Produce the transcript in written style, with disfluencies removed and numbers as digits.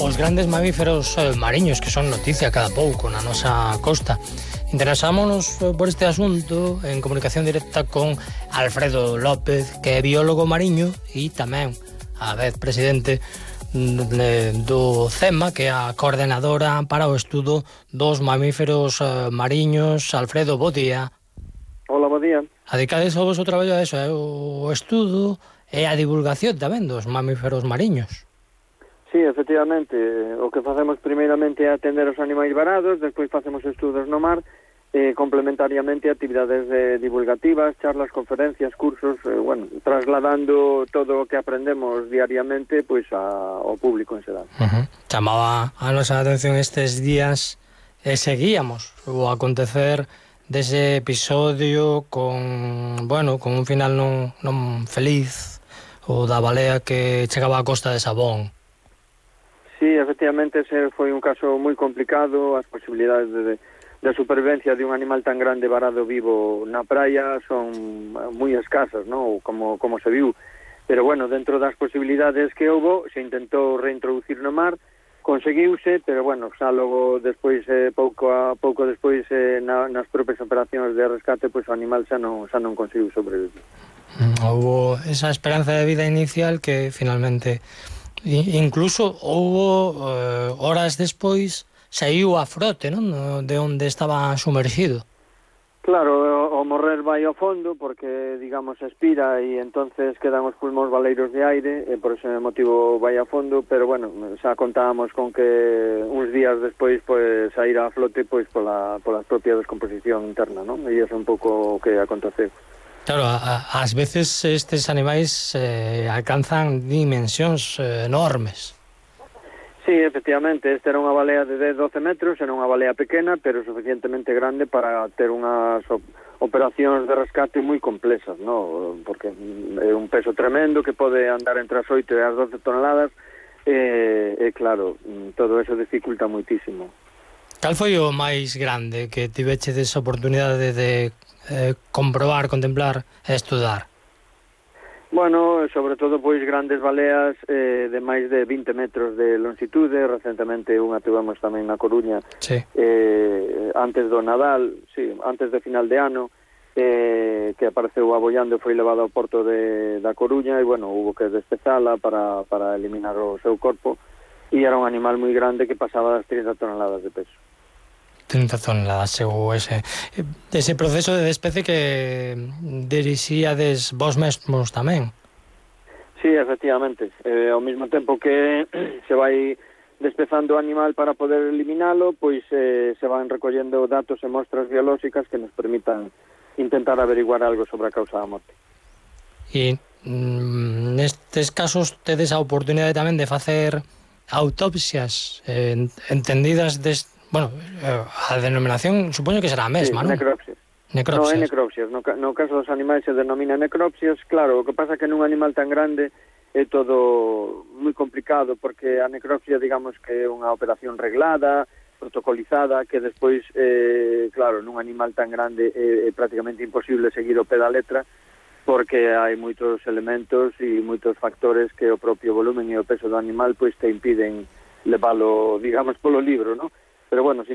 os grandes mamíferos mariños que son noticia cada pouco na nosa costa. Interesámonos por este asunto en comunicación directa con Alfredo López, que é biólogo mariño e tamén a vez presidente do CEMA, que é a coordenadora para o estudo dos mamíferos mariños. Alfredo, bo día. Hola, bo día. Adicades ao vosso traballo a eso, o estudo e a divulgación tamén dos mamíferos mariños. Sí, efectivamente, o que facemos primeiramente é atender os animais varados, despois facemos estudos no mar, complementariamente actividades divulgativas, charlas, conferencias, cursos, trasladando todo o que aprendemos diariamente pois ao público en xeral. Chamaba a nosa atención estes días e seguíamos o acontecer dese episodio con un final non feliz, o da balea que chegaba á costa de Sabón. Sí, efectivamente, ese foi un caso moi complicado. As posibilidades de supervivencia de un animal tan grande varado vivo na praia son moi escasas, ¿no? Como se viu. Pero bueno, dentro das posibilidades que houbo, se intentou reintroducir no mar, conseguiuse, pero bueno, xa logo despois, pouco despois, nas propias operacións de rescate, pois o animal xa non conseguiu sobrevivir. Houbo esa esperanza de vida inicial que finalmente... Incluso houbo horas despois saiu a frote, non? De onde estaba sumerxido. Claro, o morrer vai ao fondo porque, digamos, expira e entonces quedan os pulmóns baleiros de aire e por ese motivo vai a fondo, pero bueno, xa contábamos con que uns días despois pois saíra a flote pois pola propia descomposición interna, non? E iso é un pouco o que aconteceu. Claro, ás veces estes animais alcanzan dimensións enormes. Sí, efectivamente, esta era unha balea de 10-12 metros, era unha balea pequena, pero suficientemente grande para ter unhas operacións de rescate moi complexas, ¿no? Porque é un peso tremendo que pode andar entre as 8 e as 12 toneladas, e claro, todo eso dificulta moitísimo. Cal foi o máis grande que tivechedes a oportunidade de comprobar, contemplar e estudar? Bueno, sobre todo pois grandes baleas de máis de 20 metros de longitude. Recentemente unha tivemos tamén na Coruña, sí. Antes do Nadal, sí, antes de final de ano, que apareceu abollando e foi levado ao porto da Coruña e, bueno, hubo que despezala para eliminar o seu corpo e era un animal moi grande que pasaba das 30 toneladas de peso. 30 toneladas, chegou ese proceso de despece que dirixíades vos mesmos tamén. Sí, efectivamente. Ao mesmo tempo que se vai despezando o animal para poder eliminalo, pois se van recollendo datos e mostras biolóxicas que nos permitan intentar averiguar algo sobre a causa da morte. E nestes casos tedes a oportunidade tamén de facer autopsias entendidas a denominación supoño que será a mesma, non? Necropsias. Necropsias. No, é necropsias. No caso dos animais se denomina necropsias. Claro, o que pasa é que nun animal tan grande é todo moi complicado porque a necropsia, digamos que é unha operación reglada, protocolizada, que despois, claro, nun animal tan grande é prácticamente imposible seguir o pé da letra porque hai moitos elementos e moitos factores que o propio volumen e o peso do animal pois te impiden leválo, digamos, polo libro, non? Pero bueno,